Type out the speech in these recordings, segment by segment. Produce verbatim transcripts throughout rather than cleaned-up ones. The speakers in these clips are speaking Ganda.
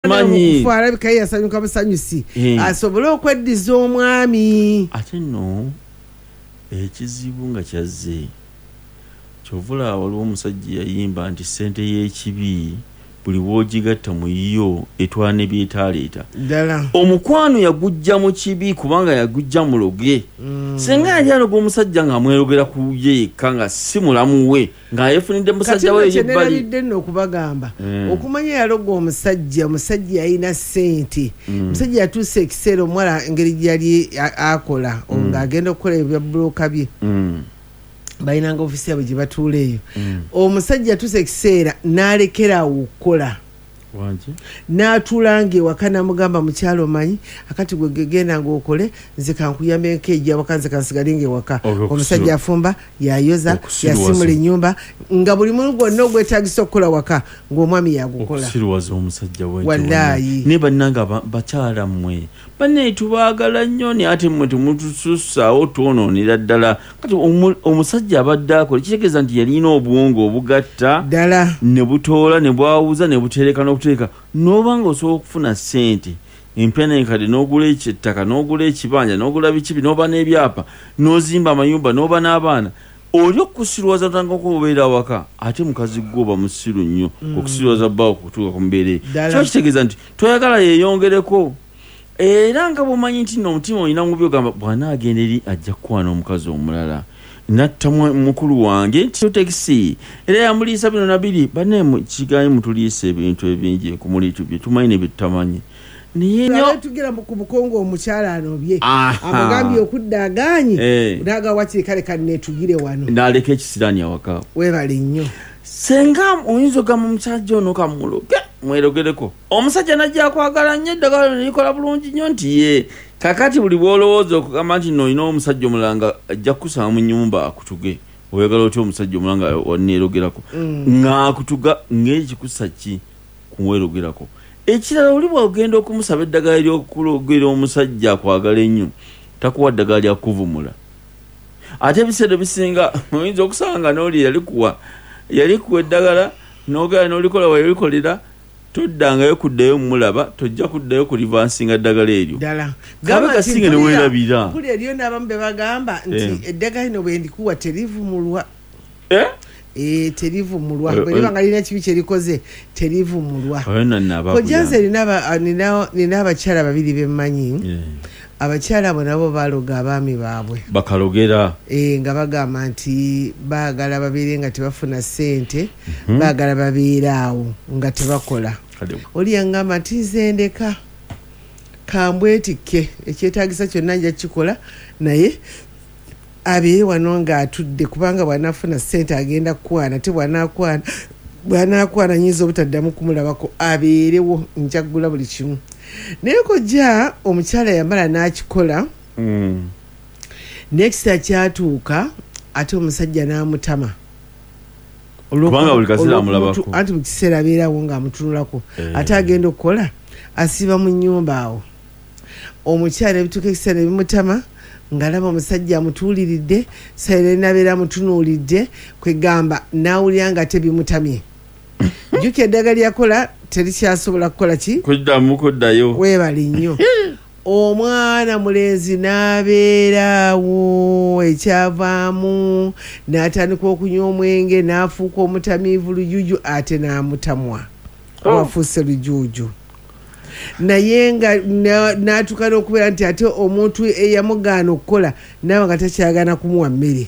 Manyi. Okufa alabika ye yasanyuka busanyusi Eh. asobole okweddiza omwami. Ate nno ekizibu nga kyazze, kyovula waliwo omusajja yayimba nti ssente y'ekibi buli w'ogigatta mu yo etwala ne byetaaleeta. Ddala. Omukwano yagujja mu kibi kubanga yagujja muloge. Mm. Singa yali aloga omusajja ng'amwerogera ku ye yekka nga si mulamu we, ng'ayefunidde Kati musajja we nno kye eyebbali. nerabidde nno okubagamba, Mm. okumanya yaloga omusajja, omusajja yalina ssente. Mm. Omusajja yatuusa ekiseera omuwala engeri gyeyali a- akola, Mm. ng'agenda okukola ebya bulooka bye, Mm. balinanga ofiisi yaabwe gye batuula eyo. Mm. Omusajja yatuusa ekiseera n'alekera awo okukola. Wangi? N'atuulanga ewaka n'amugamba, "Mukyalo, omanyi akati gwe gegenda ng'okole, nze kankuyambe nkeejja waka, nze kansigale ng'ewaka." Okusiru- Omusajja afumba, yayoza, Okusiruwaza. yasimula ennyumba, nga buli mulimu gwonna ogwetagisa okukola waka ng'omwami yagukola. Okusiruwaza omusajja. Wallaayi. Naye bannange, aba- bakyala mmwe bannaye tubaagala nnyo, naye ate mmwe temutusussaawo, twonoonera ddala. Kati omu- omusajja abadde akola, kitegeeza nti yalina obwongo obugatta Ddala. ne butoola ne bwawuza ne butereka n'okutereka, n'oba nga osobola okufuna ssente empya nenkadde, n'ogula ekyettaka, n'ogula ekibanja, n'ogula bikibi, n'oba n'ebyapa, n'ozimba amayumba, n'oba n'abaana. Oli okusiruwaza otandika okubeera awaka, ate mukazi gwe oba musiru nnyo okusiruwaza bbaawo kutuuka ku mbeera eyo. Ddala. Kiba kitegeeza nti toyagala yeeyongereko, era nga bw'omanyi nti nno omutima olina mubi, ogamba bw'anaagenda eri ajja kukwana omukazi omulala, natta mwa- mukulu wange nti tekisi era yamuliisa bino nabiri. Banne kiganyi mutuliisa ebintu ebingi ekumuliitu bye tumanyi ne bye tutamanyi, naye nnyo Tugera ku bukongo, omukyala anobye, Aha. amugambye okudda agaanye, Eh. naga wakiri kale kaneetugire wano. N'aleka ekisiraani awaka. Weebale nnyo. Senga oyinza ogamba omusajja ono kamuloge mwerogereko, omusajja najja akwagala nnyo, eddagala lino likola bulungi nnyo nti ye kakati buli bwolowooza okugamba nti no olina omusajja omulala nga ajja kukusanga mu nnyumba akutuge, oyagala otya omusajja omulala nga waneerogerako ng'akutuga ng'ekikusa ki kumwerogerako? Ekirala, oli bwogenda okumusaba eddagala eryokulogera omusajja akwagala ennyo, takuwa ddagala lyakuvumula. Ate ebiseera ebisinga oyinza okusanga n'oli yalikuwa yalikuwa eddagala, n'ogenda n'olikola, weyalikolera toddangayo kuddayo mumulaba, tojja kuddayo kulivansinga ddagala eryo. Ddala. Kabe kasinge ne weerabira. Mpulira eriyo n'abamu be bagamba nti Eh. eddagala lino bwe ndikuwa terivumulwa. Eh? Eh, terivumulwa. Eh, Bwe liba eh. nga lirina kibi kyerikoze, terivumulwa. Oyo nno nnaaba Kojja, nze akuyamba. nina aba- nina- nina abakyala babiri bemmanyi. Eh, Abakyala abo nabo baloga abaami baabwe. Bakalogera. Eh, nga bagamba nti baagala babeere nga tebafuna ssente, Mhm. baagala babeere awo nga tebakola. Kale, Oli yaŋŋamba nti nze ndeka kambwetikke, ekyetaagisa kyonna nja kukikola, naye abeere wano ng'atudde, kubanga bw'anaafuna ssente agenda kukwana, te bw'anaakwana bw'anaakwana nyinza obutaddamu kumulabako, abeerewo njaggula buli kimu. Naye kojja, omukyala yamala n'akikola. Mm. Next kyatuuka ate omusajja n'amutama. Kubanga buli kaseera Olw'okumutu- amulabako. Anti buli kiseera abeerawo ng'amutunulako. Eh. Ate agenda okukola asiiba mu nnyumba awo, omukyala ebituuka ekiseera ebimutama ng'alaba omusajja amutuuliridde saire nabeera amutunuulidde, kwegamba n'awulira nga tebimutamye. Jjukira eddagala lyakola terikyasobola kukola ki? Kuddamu kuddayo. Weebale nnyo. Omwana mulenzi n'abeeraawo, ekyavaamu n'atandika okunywa omwenge, n'afuuka omutamiivu lujuju, ate n'amutamwa. Oh. Wafuuse lujuuju, naye nga na- n'atuuka n'okubeera nti ate omuntu eyamugaana okukola nawe nga takyagala kumuwa mmere,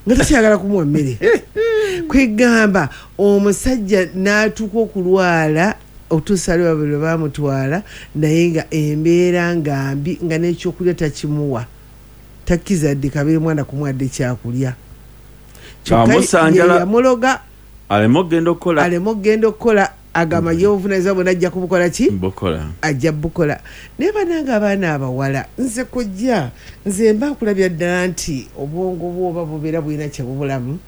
nga takyagala kumuwa mmere. Kwegamba omusajja n'atuuka okulwala okutuusa lwe babiri lwe baamutwala, naye nga embeera nga mbi, nga n'ekyokulya takimuwa, takkiriza dde kabiri mwana kumuwadde kyakulya. Kyokka Amusanjala. ye yamuloga Aleme okugenda okukola. Aleme okugenda okukola, agamba ye obuvunanyizibwa bwonna ajja kubukola ki? Bukola. Ajja bukola. Naye banange, abaana abawala, nze kojja, nze mba nkulabya ddala nti obwongo bwoba bubeera bulina kyebubulamu,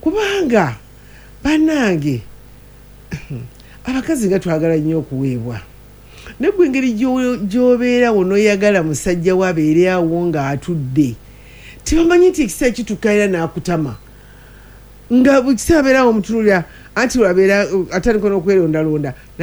kubanga bannange abakazi nga twagala nnyo okuweebwa, naye gwe engeri gy'o- gy'obeerawo n'oyagala musajja we abeere awo ng'atudde, tebamanyi nti ekiseera kituuka era n'akutama. Nga buli kiseera abeera omutunulira, anti lwabeera atandika n'okwerondalonda.